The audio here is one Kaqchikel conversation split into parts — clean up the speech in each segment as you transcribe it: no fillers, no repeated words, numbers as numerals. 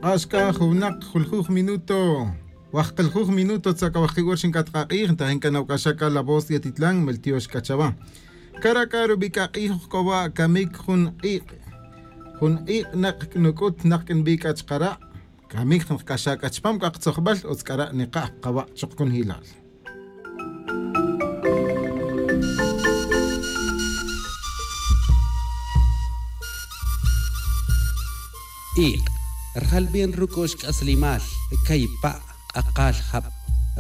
Q'axka juwnaq juljuj minuto waqqiljuj minuto tzakawajqiwar xinkatqaq'ij ntajin kanawk'axaka La Voz de Atitlán meltiox k'achaba karaka rub'ik'aq'ij ujk'owa kamik jun q'iq' jun q'iq' naq nuk'ut naq k'inb'ik achqara' kamik nqk'axak'achpam k'aqtzojb'al utzk'ara' niqaj qawa' choqkun hilal. Iq', rjalb'en ruk'u'x k'aslimal, kaypa' q'aqal jab',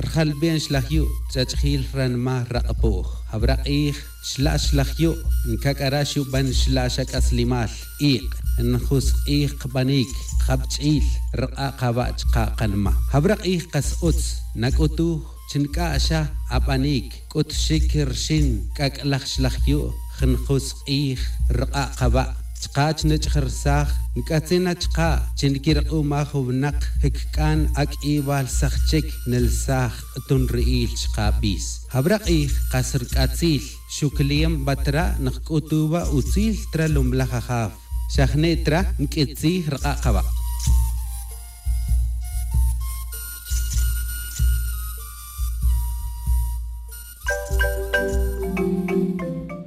rjalb'en xlajyu' ch'ach'jil ranma raq'pu'j, jabraq'ij xla' xlajyu' nkak'ara xub'an xla' xak'aslimal, iq', njusq'ij qb'anik, qab'ch'il, rq'a' qawa' chqa qanma. Jabraq'ij qas utz, nak'utuj, chink'a'xa ab'anik, k'utxik rxin k'ak'laj xlajyu' jnjusq'ij rq'a' qawa' chqa chnech'jrsaj nk'atzina chqa chinkirq'umaj wnaq jkk'an ak'iwal saqchik nelsaj q'tunri'il chqa b'is. Jabraq'ij qas rk'atzil xukliem b'atra nqk'utuwa utzil tra lumlaj ajaw xajne'tra nk'itzij rq'a' qawa'.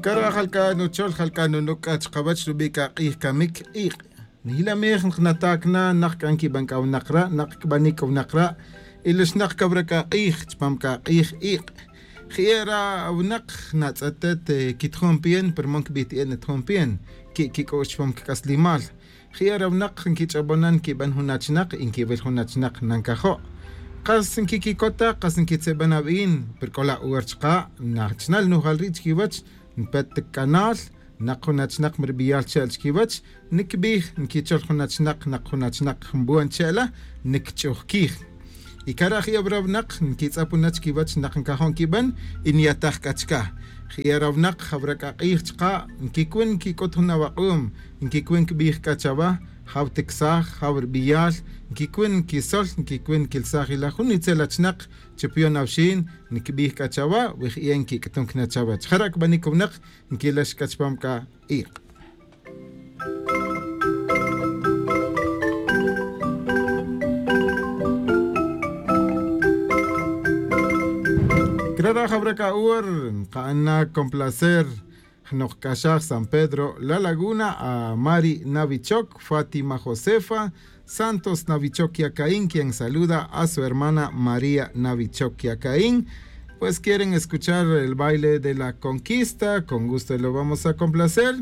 Kara jalka nuchol jalka nunuk achqawach rub'ik aq'ij kamik iq'. Nihilamij nqnatakna naq k'an kib'an k'awnaqra' naq kb'anik k'awnaqra' ilixnaq kawrak aq'ij chpam kaq'ij iq'. Ji'era wnaq natz'etet kitjom pien pero mon kb'it'ien tjom pien ki kik'u'x chpam kk'aslimal. Ji'era wnaq nkich'ob'onan kib'an jun achnaq inkiwil jun achnaq nankajo'. Qas nkikikota qas nkitzeb'an ab'in pero k'ola uwer chqa nachnal nujal ri' chkiwach npet kanal naq jun achnaq mirb'iyal che'l chkiwach nikb'ij nkichol jun achnaq naq jun achnaq jnb'uan che'la nikch'ujkij. Y karaj yabrawnaq nkitz'apuna chkiwach naq nkajo' nkib'an y nyataj k'achka. Ji'erawnak jawrak'aq'ij chqa nkikwin nkik'ut jun awaq'um nkikwin kb'ij k'achawa jaw tiksaj jaw rb'iyal nkikwin nkisol nkikwin nkilsaj ila jun itzel achnaq chipyon awxin nkb'ij k'achawa wij'ien nkik'tun knachawach jarak b'anik wnaq nkilax k'achpam ka iq'. Krara jawraka uwer nqa'ana complacer Jnoqk'axaj San Pedro La Laguna a Mari Navichok, Fátima Josefa, Santos Navichok Yacaín, quien saluda a su hermana María Navichok Yacaín. Pues quieren escuchar el baile de la conquista, con gusto lo vamos a complacer.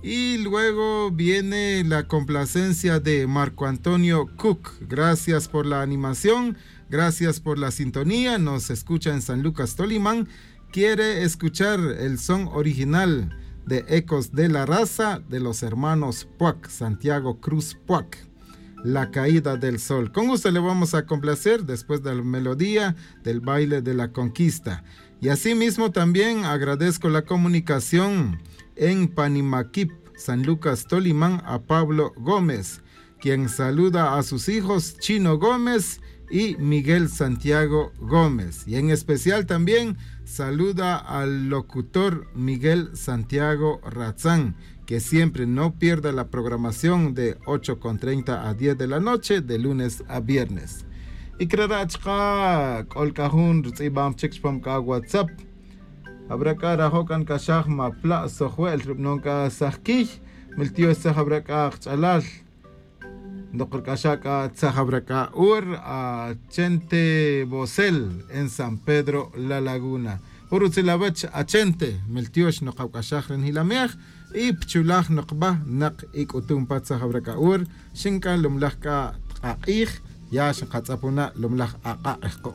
Y luego viene la complacencia de Marco Antonio Cook. Gracias por la animación, gracias por la sintonía. Nos escucha en San Lucas Tolimán. Quiere escuchar el son original de Ecos de la Raza de los hermanos Puac, Santiago Cruz Puac, La Caída del Sol. Con gusto le vamos a complacer después de la melodía del baile de la conquista. Y asimismo también agradezco la comunicación en Panimaquip, San Lucas Tolimán, a Pablo Gómez, quien saluda a sus hijos Chino Gómez y Miguel Santiago Gómez. Y en especial también saluda al locutor Miguel Santiago Razán, que siempre no pierda la programación de 8:30 a 10 de la noche, de lunes a viernes. Y krarachka k'olkajun rtz'ib'am chik chpam ka WhatsApp. Habrá rajokan kashaj mapla sojuel rubnonka sajkij, miltio saj habrá ch'alal. Ndoqork'axaka tzajabraka ur a Chente Bosel en San Pedro La Laguna. Urutzilabach a Chente, miltiox noqawk'axaj ren hilameaj y pchulaj noqba naq ik utumpa tzajabraka ur, xinka lumlaj ka tq'aq'ij, ya xinqatz'apuna lumlaj aq'aq'ejqo.